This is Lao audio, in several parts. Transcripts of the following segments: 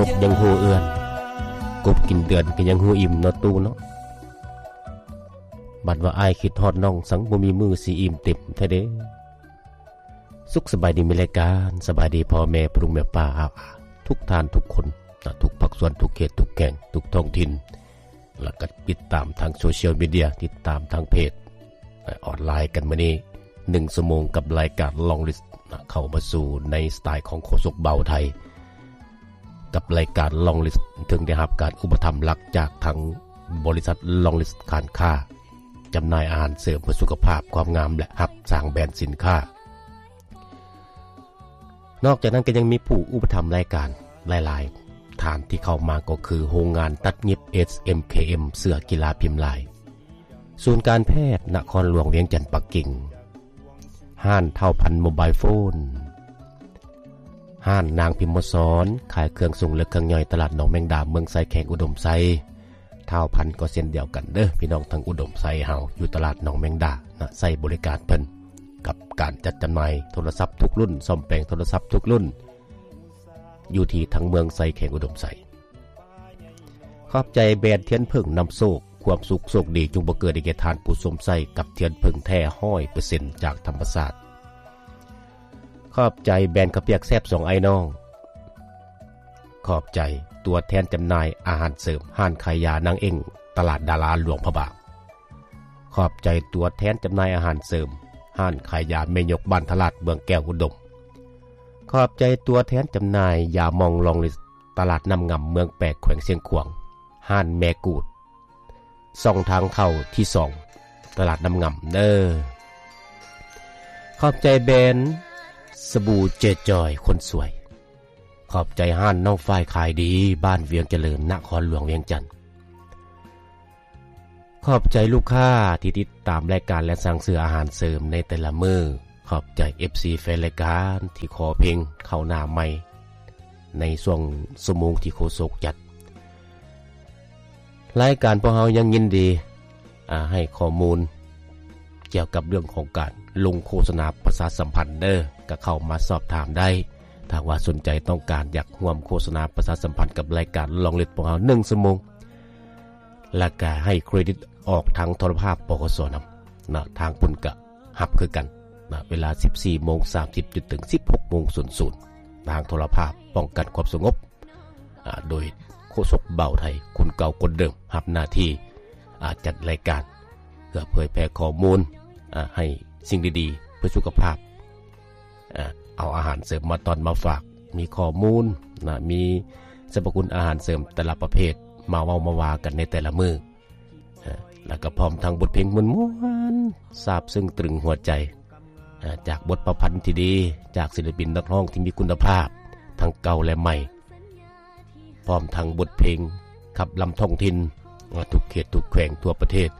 ນົກຍັງຮູ້ເອື້ອນ ກົບກິນເດືອນກໍຍັງຮູ້ອີ່ມເນາະຕູ້ເນາະ. ບັດວ່າອ້າຍຄິດຮອດນ້ອງ ສັງບໍ່ມີມື້ຊິອີ່ມເຕັມແທ້ເດ້. ສຸກສະບາຍດີ ມີລາຍການ ສະບາຍດີພໍ່ແມ່ ພໍ່ລຸງແມ່ປ້າ ອາ ອາ ທຸກທ່ານທຸກຄົນ ນະ ທຸກພາກສ່ວນ ທຸກເຂດ ທຸກແຂວງ ທຸກທ້ອງຖິ່ນ ແລ້ວກໍຕິດຕາມທາງໂຊຊຽວມີເດຍ ຕິດຕາມທາງເພຈ ອອນລາຍກັນມື້ນີ້ ໜຶ່ງຊົ່ວໂມງກັບລາຍການ Long List ນະ ເຂົ້າມາສູ່ໃນສະໄຕຂອງໂຄສົກເບົາໄທ ກັບລາຍການ Long List ເຊິ່ງໄດ້ຮັບການອຸປະຖຳຫຼັກຈາກທາງບໍລິສັດ Long List ການຄ້າ ຈຳໜ່າຍອາຫານເສີມເພື່ອສຸຂະພາບ, ຄວາມງາມ ແລະ ຮັບສ້າງແບຣນສິນຄ້າ. ນອກຈາກນັ້ນກໍຍັງມີຜູ້ອຸປະຖຳລາຍການຫຼາຍໆທ່ານທີ່ເຂົ້າມາ ກໍຄືໂຮງງານຕັດຫຍິບ ເອສ ເອັມ ເຄ ເອັມ ເສື້ອກິລາພິມລາຍ, ສູນການແພດນະຄອນຫຼວງວຽງຈັນປັກກິ່ງ, ຮ້ານທ້າວພັນໂມບາຍໂຟນ, ຮ້ານນາງພິມມະສອນ ຂາຍເຄື່ອງຊົງ ແລະ ເຄື່ອງຍ່ອຍ ຕະຫຼາດໜອງແມງດາ ເມືອງໄຊ ແຂວງອຸດົມໄຊ. ທ້າວພັນກໍເຊັ່ນດຽວກັນເດີ້ ພີ່ນ້ອງທາງອຸດົມໄຊເຮົາ ຢູ່ຕະຫຼາດໜອງແມງດານະ ໃຊ້ບໍລິການເພິ່ນ ກັບການຈັດຈຳໜ່າຍໂທລະສັບທຸກລຸ້ນ, ສ້ອມແປງໂທລະສັບທຸກລຸ້ນ ຢູ່ທີ່ທາງເມືອງໄຊ ແຂວງອຸດົມໄຊ. ຂອບໃຈແບຣນທຽນເຜິ້ງນຳໂຊກ, ຄວາມສຸກໂຊກດີຈົ່ງບັງເກີດໃຫ້ແກ່ທ່ານຜູ້ຊົມໃຊ້ ກັບທຽນເຜິ້ງແທ້ຮ້ອຍເປີເຊັນຈາກທຳມະຊາດ. ຂອບໃຈແບຣນເຂົ້າປຽກແຊບສອງອ້າຍນ້ອງ. ຂອບໃຈຕົວແທນຈຳໜ່າຍອາຫານເສີມ ຮ້ານຂາຍຢານາງເອັ້ງ ຕະຫຼາດດາລາ ຫຼວງພະບາງ. ຂອບໃຈຕົວແທນຈຳໜ່າຍອາຫານເສີມ ຮ້ານຂາຍຢາແມ່ຍົກ ບ້ານທະລາດ ເມືອງແກ້ວອຸດົມ. ຂອບໃຈຕົວແທນຈຳໜ່າຍຢາໝອງ Long List ຕະຫຼາດນ້ຳງຳ ເມືອງແປກ ແຂວງຊຽງຂວາງ, ຮ້ານແມ່ກູດ ຊ່ອງທາງເຂົ້າທີສອງ ຕະຫຼາດນ້ຳງຳເດີ້. ຂອບໃຈແບຣນສະບູເຈຈອຍຄົນສວຍ. ຂອບໃຈຮ້ານນ້ອງຝ້າຍຂາຍດີ ບ້ານວຽງຈະເລີນ ນະຄອນຫຼວງວຽງຈັນ. ຂອບໃຈລູກຄ້າທີ່ຕິດຕາມລາຍການ ແລະ ສັ່ງຊື້ອາຫານເສີມໃນແຕ່ລະມື້. ຂອບໃຈເອັຟຊີແຟນລາຍການທີ່ຂໍເພງເຂົ້າໜ້າໃໝ່ໃນຊ່ວງຊົ່ວໂມງທີ່ໂຄສົກຈັດ. ລາຍການພວກເຮົາຍັງຍິນດີ ອາ ໃຫ້ຂໍ້ມູນກ່ຽວກັບເລື່ອງຂອງການລົງໂຄສະນາປະຊາສຳພັນເດີ້ ກໍເຂົ້າມາສອບຖາມໄດ້. ຖ້າວ່າສົນໃຈຕ້ອງການຢາກຮ່ວມໂຄສະນາປະຊາສຳພັນກັບລາຍການ Long List ພວກເຮົາ ໜຶ່ງຊົ່ວໂມງ ແລ້ວກະໃຫ້ເຄຣດິດອອກທາງໂທລະພາບ ປກສ ນຳນະ, ທາງພຸ້ນກະຮັບຄືກັນນະ ເວລາ ສິບສີ່ໂມງສາມສິບ ຈົນເຖິງ ສິບຫົກໂມງສູນສູນ ທາງໂທລະພາບປ້ອງກັນຄວາມສະຫງົບ ອາ ໂດຍໂຄສົກເບົາໄທ ຄົນເກົ່າຄົນເດີມ ຮັບໜ້າທີ່ ອາ ຈັດລາຍການ ເພື່ອເຜີຍແຜ່ຂໍ້ມູນ ອາ ໃຫ້ສິ່ງດີໆເພື່ອສຸຂະພາບ ອາ ເອົາອາຫານເສີມມາຕ້ອນມາຝາກ ມີຂໍ້ມູນນະ ມີສັບພະຄຸນອາຫານເສີມແຕ່ລະປະເພດ ມາເວົ້າມາວ່າກັນໃນແຕ່ລະມື້ ອາ ແລ້ວກໍພ້ອມທັງບົດເພງມ່ວນໆ ຊາບຊຶ້ງຕະລຶງຫົວໃຈ ອາ ຈາກບົດປະພັນທີ່ດີ ຈາກສິນລະປິນນັກຮ້ອງທີ່ມີຄຸນນະພາບ ທັງເກົ່າ ແລະ ໃໝ່ ພ້ອມທັງບົດເພງຂັບລຳທ້ອງຖິ່ນ ອາ ທຸກເຂດທຸກແຂວງທົ່ວປະເທດ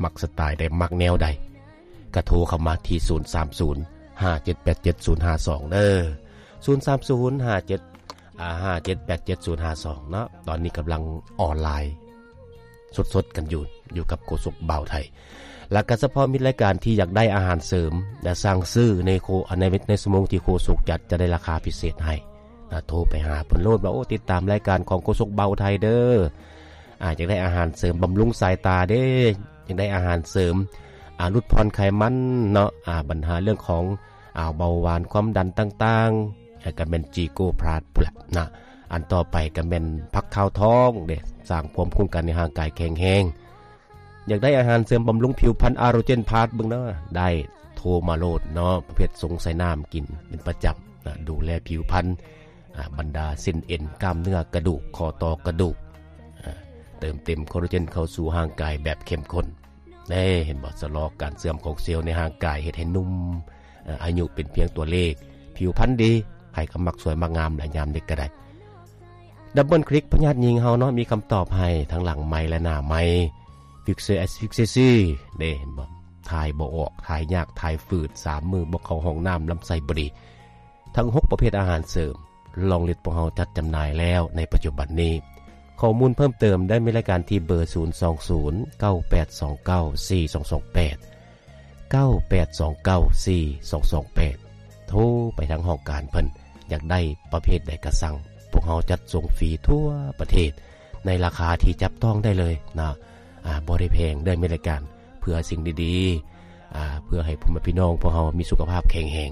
ມັກສະໄຕໃດ ມັກແນວໃດ ກະໂທເຂົ້າມາທີ່ ສູນສາມສູນ ຫ້າເຈັດແປດເຈັດສູນຫ້າສອງ ເດີ້ ສູນສາມສູນ ຫ້າເຈັດ ອາ ຫ້າເຈັດແປດເຈັດສູນຫ້າສອງ ເນາະ. ຕອນນີ້ກຳລັງອອນລາຍສົດໆກັນຢູ່ ຢູ່ກັບໂຄສົກເບົາໄທ ແລ້ວກະສະເພາະມິດລາຍການທີ່ຢາກໄດ້ອາຫານເສີມ ແລະ ສັ່ງຊື້ໃນໂຄ ໃນ ໃນຊົ່ວໂມງທີ່ໂຄສົກຈັດ ຈະໄດ້ລາຄາພິເສດໃຫ້ ນະ ໂທໄປຫາເພິ່ນໂລດວ່າ ໂອ້ ຕິດຕາມລາຍການຂອງໂຄສົກເບົາໄທເດີ້ ອາ ຢາກໄດ້ອາຫານເສີມບຳລຸງສາຍຕາເດ້ ຢາກໄດ້ອາຫານເສີມ ອາ ຫຼຸດຜ່ອນໄຂມັນເນາະ ອາ ບັນຫາເລື່ອງຂອງ ອາ ເບົາຫວານ ຄວາມດັນຕ່າງໆ ແລ້ວກໍແມ່ນຈີໂກພລັສພຸ້ນລະນະ. ອັນຕໍ່ໄປກໍແມ່ນຜັກຂາວທອງເດ້ ສ້າງພູມຄຸ້ມກັນໃຫ້ຮ່າງກາຍແຂງແຮງ. ຢາກໄດ້ອາຫານເສີມບຳລຸງຜິວພັນ ອາໂຣເຈນພລັສເບິ່ງເນາະ ໄດ້ ໂທມາໂລດເນາະ ປະເພດຊົງໃສ່ນ້ຳກິນເປັນປະຈຳນະ ດູແລຜິວພັນ ອາ ບັນດາເສັ້ນເອັນ ກ້າມເນື້ອ ກະດູກ ຂໍ້ຕໍ່ ກະດູກ ອາ ເຕີມເຕັມໂຄລາເຈນເຂົ້າສູ່ຮ່າງກາຍແບບເຂັ້ມຂຸ້ນເດ້ ເຫັນບໍ່? ຊະລໍການເສື່ອມຂອງເຊວໃນຮ່າງກາຍ ເຮັດໃຫ້ໜຸ່ມ ອາ ອາຍຸເປັນພຽງຕົວເລກ ຜິວພັນດີ ໃຜກໍມັກສວຍມັກງາມ ແລະ ຍາມເດັກກໍໄດ້. ດັບເບິນຄລິກ ພະຍາດຍິງເຮົາເນາະ ມີຄຳຕອບໃຫ້ທັງຫຼັງໄມ ແລະ ໜ້າໄມ. ຟິກເຊ ຟິກເຊຊີ ເດ້ ເຫັນບໍ່? ຖ່າຍບໍ່ອອກ ຖ່າຍຍາກ ຖ່າຍຝືດ ສາມມື້ບໍ່ເຂົ້າຫ້ອງນ້ຳ ລຳໄສ້ບໍ່ດີ. ທັງຫົກປະເພດອາຫານເສີມ ລອງລິດພວກເຮົາຈັດຈຳໜ່າຍແລ້ວໃນປັດຈຸບັນນີ້. ຂໍ້ມູນເພີ່ມເຕີມໄດ້ໃນລາຍການທີ່ເບີ ສູນສອງສູນ ເກົ້າແປດສອງເກົ້າ ສີ່ສອງສອງແປດ ເກົ້າແປດສອງເກົ້າ ສີ່ສອງສອງແປດ ໂທໄປທາງຫ້ອງການເພິ່ນ ຢາກໄດ້ປະເພດໃດກະສັ່ງ ພວກເຮົາຈັດສົ່ງຟຣີທົ່ວປະເທດ ໃນລາຄາທີ່ຈັບຕ້ອງໄດ້ເລີຍນະ ອາ ບໍ່ໄດ້ແພງເດີ້ ແມ່ນລາຍການ ເພື່ອສິ່ງດີໆ ອາ ເພື່ອໃຫ້ພໍ່ແມ່ພີ່ນ້ອງພວກເຮົາມີສຸຂະພາບແຂງແຮງ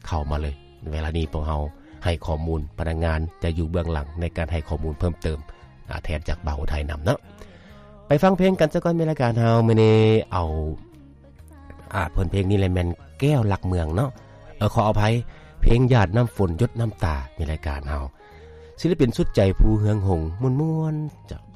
ເຂົ້າມາເລີຍ. ເວລານີ້ພວກເຮົາໃຫ້ຂໍ້ມູນ ພະນັກງານຈະຢູ່ເບື້ອງຫຼັງໃນການໃຫ້ຂໍ້ມູນເພີ່ມເຕີມ ອາ ແທນຈາກບ່າວອຸໄທນຳເນາະ. ໄປຟັງເພງກັນຊະກ່ອນ ແມ່ນລາຍການເຮົາ ມື້ນີ້ເອົາ ອາ ເພິ່ນເພງນີ້ແຫຼະ ແມ່ນແກ້ວລັກເມືອງເນາະ ເອີ ຂໍອະໄພ ເພງຢາດນ້ຳຝົນ ຢົດນ້ຳຕາ ແມ່ນລາຍການເຮົາ ສິລະປິນສຸດໃຈ ພູເຮືອງຫົງ ມ່ວນໆ ເຈົ້າ.